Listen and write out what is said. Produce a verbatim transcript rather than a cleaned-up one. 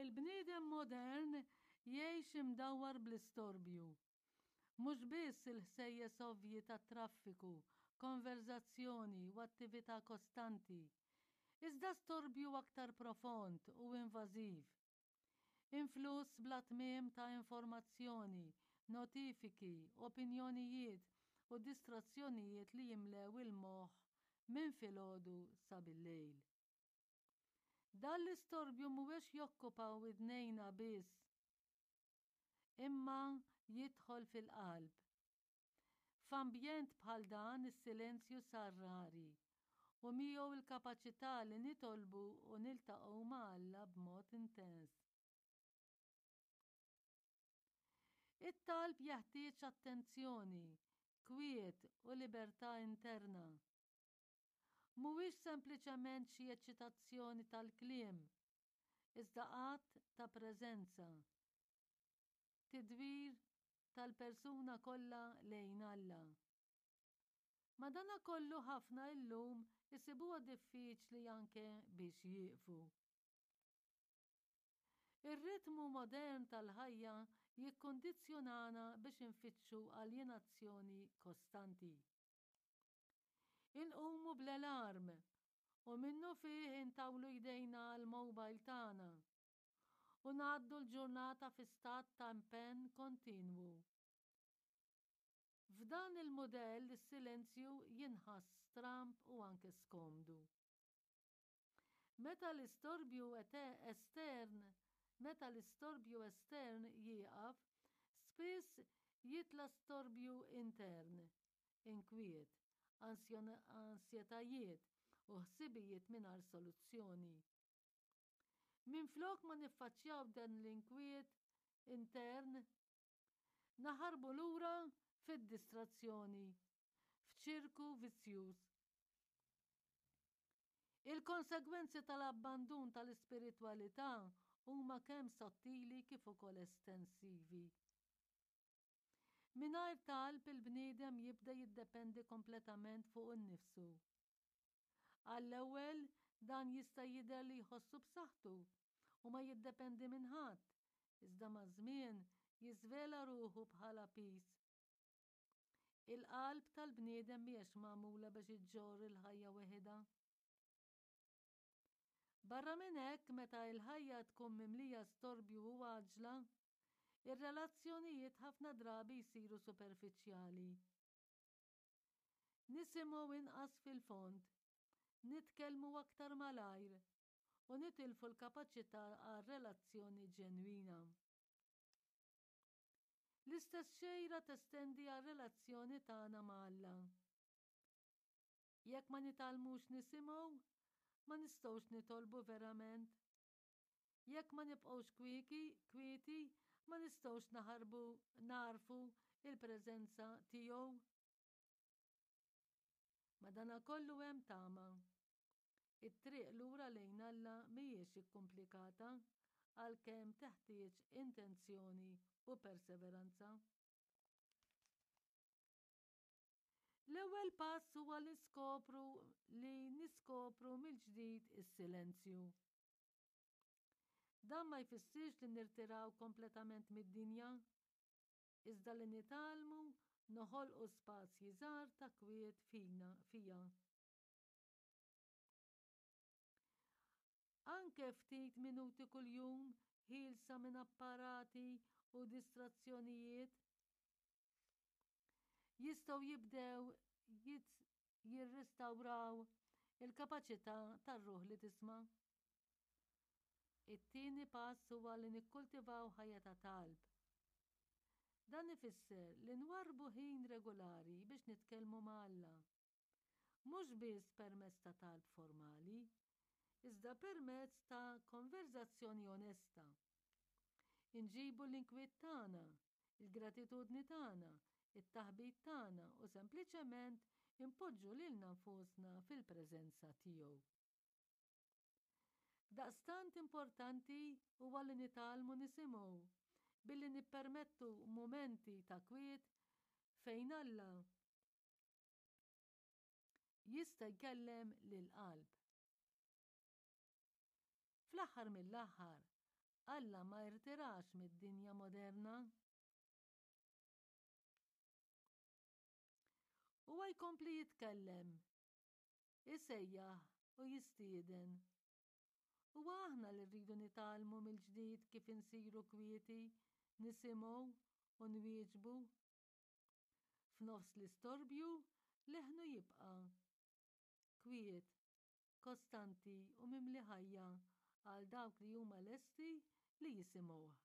Il-bniedem modern jgħix imdawwar bl-istorbju. Mhux biss il-ħsejjes ovvji tat-traffiku, konverżazzjoni u attività kostanti, iżda storbju aktar profond u invażiv. Influss bla tmiem ta' informazzjoni, notifiki, opinjonijiet u distrazzjonijiet li jimlew il-moħħ minn filgħodu sa bil-lejl. Dan l-istorbju mhuwiex jokkupa widnejna biss, imma jidħol fil-qalb. F'ambjent bħal dan is-silenzju sar rari u miegħu l-kapaċità li nitolbu u niltaqgħu ma' Alla b'mod intens. It-talb jeħtieġ attenzjoni, kwiet u libertà interna. Mhuwiex sempliċement xi eċċitazzjoni tal-kliem, iżda att ta' preżenza, tidwir tal-persuna kollha lejn Alla. Madanakollu ħafna illum isibuha diffiċli anke biex jieqfu. Ir-ritmu modern tal-ħajja jikkundizzjonana biex infittxu aljenazzjoni kostanti. Inqumu bl-alarm u minnufih intawlu jdejna għall-mobile tagħna u ngħaddu l-ġurnata fi stat ta' impenn kontinwu. F'dan il-mudell is-silenzju jinħass stramb u anke skomdu. Meta l-istorbju estern meta l-istorbju estern jieqaf, spiss jitla' storbju intern, inkwiet, ansjetajiet u ħsibijiet mingħajr soluzzjoni. Minflok ma niffaċċjaw dan l-inkwiet intern, naħarbu lura fid-distrazzjoni, f'ċirku vizzjuż. Il-konsegwenzi tal-abbandun tal-ispiritwalità huma kemm sottili kif ukoll estensivi. Mingħajr talb il-bniedem jibda jiddependi kompletament fuq innifsu. Għall-ewwel dan jista' jidher li jħossu b'saħħtu u ma jiddependi minn ħadd, iżda maż-żmien jiżvela ruħu bħala piż. Il-qalb tal-bniedem mhijiex magħmula biex iġġorr il-ħajja weħidha. Barra minn hekk, meta l-ħajja tkun mimlija storbju u għaġla, ir-relazzjonijiet ħafna drabi jsiru superfiċjali. Nisimgħu inqas fil-fond, nitkellmu aktar malajr u nitilfu l-kapaċità għal relazzjoni ġenwina. L-istess xejra testendi għar-relazzjoni tagħna ma' Alla. Jekk ma nitgħallmux nisimgħu, ma nistgħux nitolbu verament. Jekk ma nibqgħux kwieki, kwieti, ma nistgħux naħarbu nagħrfu il-preżenza tiegħu. Madanakollu hemm tama. It-triq lura lejn Alla mhijiex ikkumplikata għalkemm teħtieġ intenzjoni u perseveranza. L-ewwel pass huwa li skopru li niskopru mill-ġdid is-silenzju. Dan ma jfissirx li nirtiraw kompletament mid-dinja, iżda li nitgħallmu noħolqu spazji żgħar ta' kwiet fina fija. Anke ftit minuti kuljum ħielsa minn apparati u distrazzjonijiet jistgħu jibdew jirrestawraw il-kapaċità tar-ruħ li tisma'. It-tieni pass huwa li nikkultivaw ħajja ta' talb. Dan ifisser li nwarrbu ħin regolari biex nitkellmu ma' Alla. Mhux biss permezz ta' talb formali, iżda permezz ta' konverżazzjoni onesta. Inġibu l-inkwiet tagħna, il-gratitudni tagħna, it-taħbit tagħna u sempliċement inpoġġu lilna nfusna fil-preżenza tiegħu. Daqstant importanti huwa li nitgħallmu nisimgħu billi nippermettu mumenti ta' kwiet fejn Alla jista' jkellem lill-qalb. Fl-aħħar mill-aħħar, Alla ma rtirax mid-dinja moderna. Huwa jkompli jitkellem, isejjaħ u jistieden. Huwa aħna li rridu nitgħallmu mill-ġdid kif insiru kwieti, nisimgħu u nwieġbu. F'nofs l-istorbju leħnu jibqa' kwiet, kostanti u mimli ħajja għal dawk li huma lesti li jisimgħuh.